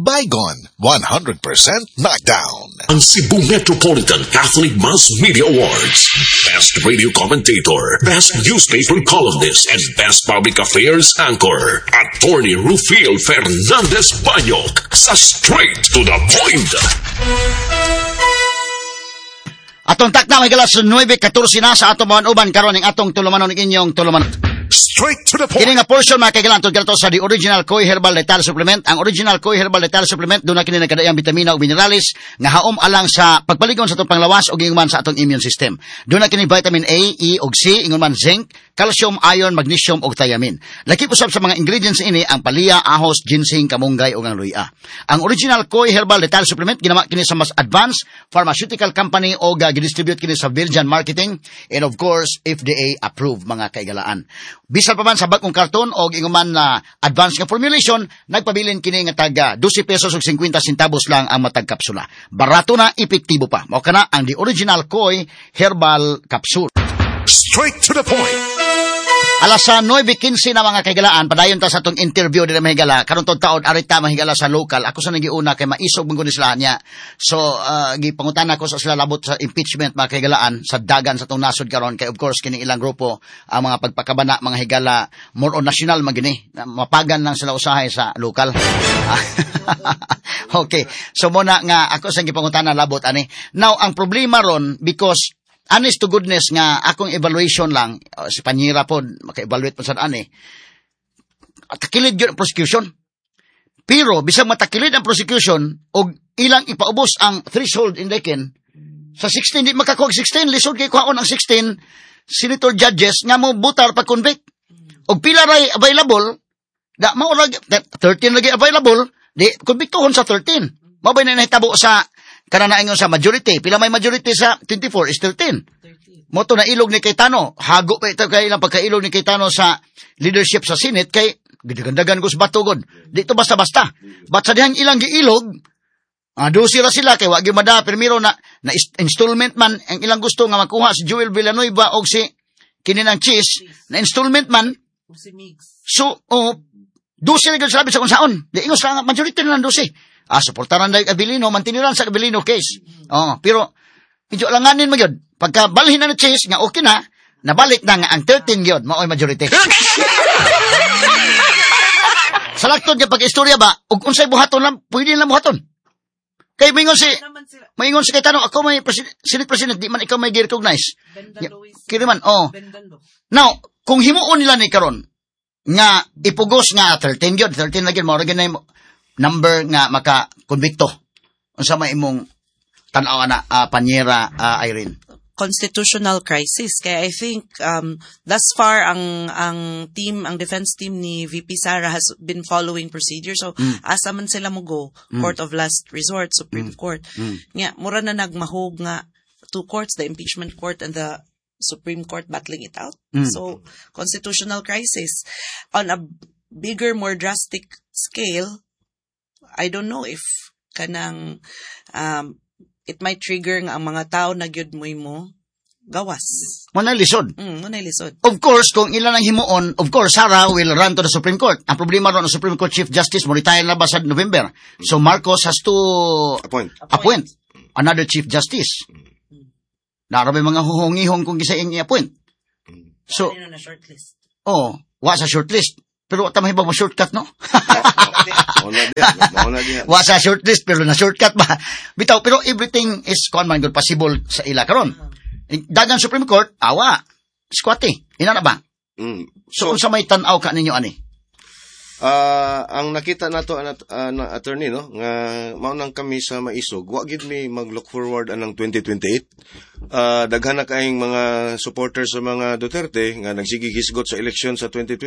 Baygon, 100% knockdown. Ang Cebu Metropolitan Catholic Mass Media Awards. Best Radio Commentator, Best Newspaper Columnist, and Best Public Affairs Anchor. Attorney Rufil Fernandez Banyok sa Straight to the Point. Atong takna, mga higala, sa 9:14 na sa atong mga uban karon ning atong tulumanon, inyong tulumanon. Straight to the point. Kini nga portion, mga kaigalan, tungod to sa The Original Koi Herbal Lethal Supplement. Ang Original Koi Herbal Lethal Supplement, duna kini nagkadaiyang bitamina ug minerales nga haom alang sa pagpaligon sa atong panglawas ug ingon man sa atong immune system. Duna kini vitamin A, E ug C, ingon man zinc, calcium, iron, magnesium ug thiamine. Lakip usab sa mga ingredients ini ang palya, ahos, ginseng, kamunggay ug ang luya. Ang Original Koi Herbal Lethal Supplement ginama kini sa mas advanced pharmaceutical company o gidistribute kini sa Virgin Marketing and of course FDA approved, mga kaigalaan. Bisan pa man sa bag-ong karton o ingon man na advanced nga formulation, nagpabilin kini nga taga 12 pesos ug 50 centavos lang ang matag kapsula. Barato na, epektibo pa. Mao kana ang The Original Koi Herbal Capsule. Straight to the point. Alas sa 9:15 na, mga kaigalaan, padayon ta sa atong interview diri, mga higala. Karon tong taon arita, mga higala, sa local. Ako sa nagiuna kay maisog man gud ni sila niya. So gipangutana ko sa sila labot sa impeachment, mga kaigalaan, sa dagan sa atong nasod karon kay of course kini ilang grupo ang mga pagpakabana, mga higala, more on national man gini. Mapagan lang sila usahay sa local. Okay. So muna nga ako sa gipangutana labot ani. Now ang problema ron, because honest to goodness nga akong evaluation lang, si Panyera po maka-evaluate po sa ani. Takilid gyud ang prosecution. Pero bisag matakilid ang prosecution og ilang ipaubos ang threshold in Dekin sa 16, di makakuha og 16. Lisod kay kuhaon ang 16 senator judges nga mo butar pa convict. Og pila ray available da mao lagi 13 lagi available, di konbiktohon sa 13. Mao ba na nahitabo sa kana na ingon sa majority? Pila may majority sa 24 is 13. Mo to na ilog ni Cayetano. Hago pa ito kay ilang pagkailog ni Cayetano sa leadership sa Senate kay gidagandagan ko sa bato god. Di to basta-basta. But sa dihang ilang giilog, 12 ra sila kay wa gyud mada primero na installment man ang ilang gusto nga makuha si Joel Villanueva og si kini ng Cheese na installment man. Si Migs. So, oh, 12 ra gyud sila sa kung saon. Di ingos lang majority na lang 12. Suportaran dahil Avelino, mantiniran sa Avelino case. Oh, pero medyo alanganin mo gyud. Pagka balhin na ni Chiz nga okay na, nabalik na nga ang 13 gyud mao'y majority. Sa laktod nga pag-istorya ba, ug unsay buhaton lang, pwede lang buhaton. Kay Naman sila. Maingon si Cayetano, ako may Senate President, di man ikaw may gi-recognize. Bendalo is Kiri man, oh. Bendalo. Now, kung himuon nila ni karon nga ipugos nga 13 gyud, 13 na gyud mao ra gyud na yung number nga maka konbikto. Unsa may imong tan-aw na, Panyera Irene? Constitutional crisis. Kaya I think thus far ang team, ang defense team ni VP Sara has been following procedure. So asa man sila mo go? Court of last resort, Supreme Court. Nga mura na nagmahog nga two courts, the impeachment court and the Supreme Court, battling it out. So constitutional crisis. On a bigger, more drastic scale, I don't know if kanang it might trigger nga ang mga tao na gyud mo'y mo gawas. Mo na lisod. Mo na lisod. Of course, kung ilan ang himuon, of course, Sara will run to the Supreme Court. Ang problema ron, ang Supreme Court Chief Justice mo retire na ba sa November. So Marcos has to Appoint. Appoint another Chief Justice. Nara may mga huhongihong kung gisa iyang i-appoint. So, Ano na shortlist? Oh, wa sa shortlist. Pero wa ta mahibag mo shortcut, no? Mao na diha. Mao na diha. Wa sa shortlist pero na shortcut ba? Bitaw, pero everything is kuan man good possible sa ila karon. Dagan Supreme Court, awa. Squatty. Ina na ba? Mm. So, unsa may tan-aw ka ninyo ani? Ah, ang nakita nato na attorney, no, nga mao nang kami sa Maisog, wa gid mi mag-look forward anang 2028. Daghan na kaayong mga supporters sa mga Duterte nga nagsige hisgot sa eleksyon sa 2028.